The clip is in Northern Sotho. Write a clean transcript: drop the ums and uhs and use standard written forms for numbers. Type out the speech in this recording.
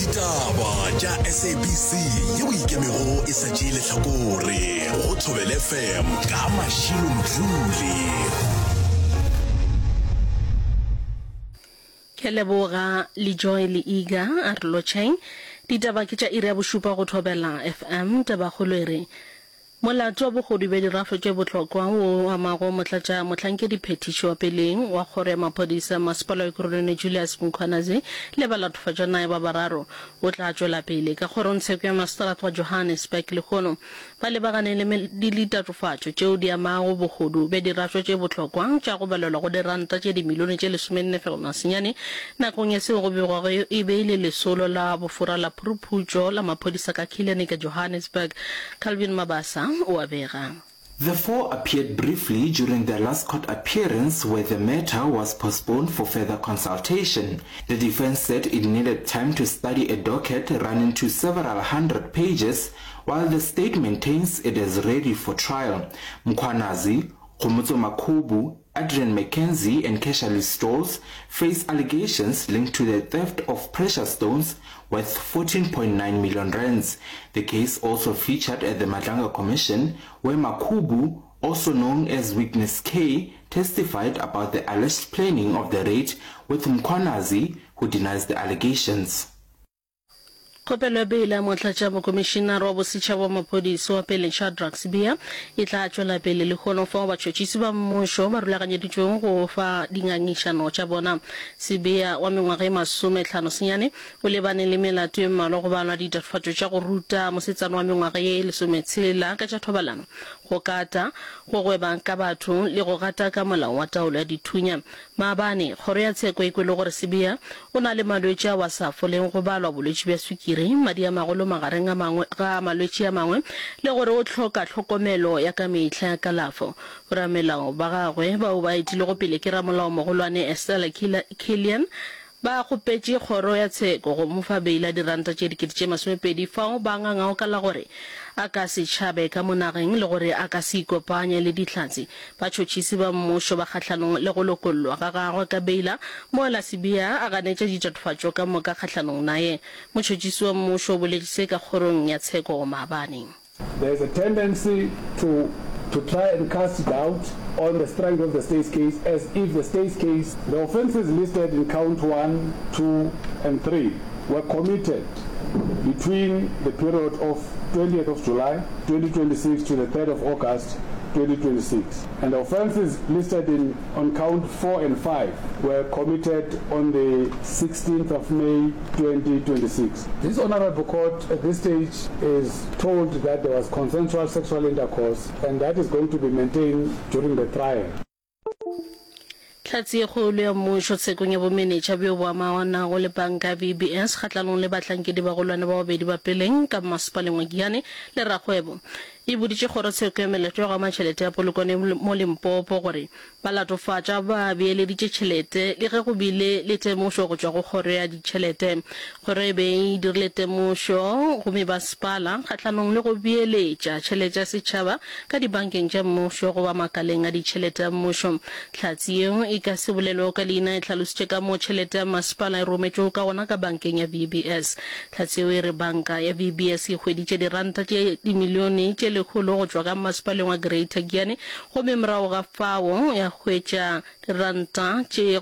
Ditaba tša SABC yeo ikemego e sa tšee lehlakore go Thobela FM ka Mashilo Mdluli. Ke a leboga le Joy le Iga a re lotšheng. Ditaba ke tša iri ya bošupa go Thobela FM. Tabakgolo e re Molato wa bohodu bja dirafo tše bohlokwa wo o amago motlatša mohlankediphethiši wa peleng wa kgoro ya maphodisa masepala wa Ekurhuleni Julius Mkhwanazi le balatofatšwa naye ba bararo o tla tšwela pele ka kgorongtsheko ya maseterata wa Johannesburg lehono ba lebagane le ditatofatšo tšeo di amago bohodu bja dirafo tše bohlokwa tša go balelwa go diranta tše dimilione tše lesomenne-fegelwana-senyane nakong ya seo go begwago e be e le lesolo la bofora la phuruphutšo la maphodisa ka Killarney ka Johannesburg. Calvin Mabasa o a bega. The four appeared briefly during their last court appearance where the matter was postponed for further consultation. The defense said it needed time to study a docket running to several hundred pages while the state maintains it is ready for trial. Mkhwanazi, Kgomotso Makhubu, Adrian McKenzie and Kesha Stolz face allegations linked to the theft of precious stones worth 14.9 million rands. The case also featured at the Madlanga Commission, where Makhubu, also known as Witness K, testified about the alleged planning of the raid with Mkhwanazi, who denies the allegations. Kgopelo ya beile ya Motlatšamokomišinare wa Bosetšhaba wa Maphodisa wa peleng Shadrack Sibiya e tla tšwela pele lehono fao batšhotšhisi ba mmušo ba rulaganyeditšwego go fa dingangišano tša bona. Sibiya wa mengwaga e masomehlano-senyane o lebane le melato ye mmalwa go balwa ditatofatšo tša go ruta mosetsana wa mengwaga ye lesometshela ka tša thobalano, go kata, go gweba ka batho le go gataka molao wa taolo ya dithunya. Maabane, kgoro ya tsheko e kwele gore Sibiya o na le malwetši ao a sa foleng go balwa bolwetši bja swikiri, madi a magolo magareng a mangwe ga malwetši a mangwe le gore o hloka tlhokomelo ya ka mehla ya kalafo. Boramelao ba gagwe bao ba etilego pele ke ramolaomogolwane Estella Killian ba kgopetše kgoro ya tsheko go mo fa beile ya diranta tše 20,000 fao ba ngangago ka la gore a ka se tšhabe ka mo nageng le gore a ka se ikopanye le Dihlatse Batšhotšhisi ba mmušo ba kgahlanong le go lokollwa ga gagwe ka beila, mola Sibiya a ganetša ditatofatšo ka moka kgahlanong naye. Motšhotšhisi wa mmušo o boletše se ka kgorong ya tsheko maabane. There is a tendency to to try and cast doubt on the strength of the state's case as if the state's case, the offences listed in count one, two and three were committed between the period of 20th of July 2026 to the 3rd of August 2026 and the offences listed in on count 4 and 5 were committed on the 16th of May 2026. This honourable court at this stage is told that there was consensual sexual intercourse and that is going to be maintained during the trial. Hlatse ye kgolo ya mmušo tshekong ya bomenetša bjo bo amanago le panka ya VBS kgahlanong le bahlankedi bagolwane ba babedi ba peleng ka mmasepaleng wa Giyani le Rakgwebo e boditše kgorotsheko ya melato ya go ama tšhelete ya Polokwane mo Limpopo gore balatofatša ba beeleditše tšhelete le ge go bile le temošo go tšwa go kgoro ya ditšhelete. Kgoro e be e dirile temošo go mebasepala kgahlanong le go beeletša tšhelete ya setšhaba ka dibankeng tša mmušo goba makaleng a ditšhelete a mmušo. Hlatse yeo e ka se bolelwego ka leina e hlalositše ka moo tšhelete ya masepala e rometšwego ka gona ka bankeng ya VBS. Hlatse yeo e re banka ya VBS e hweditše diranta tše dimilione tše lekgolo go tšwa ka mmasepaleng wa Greater Giyani gomme morago ga fao ya hwetša diranta tše go.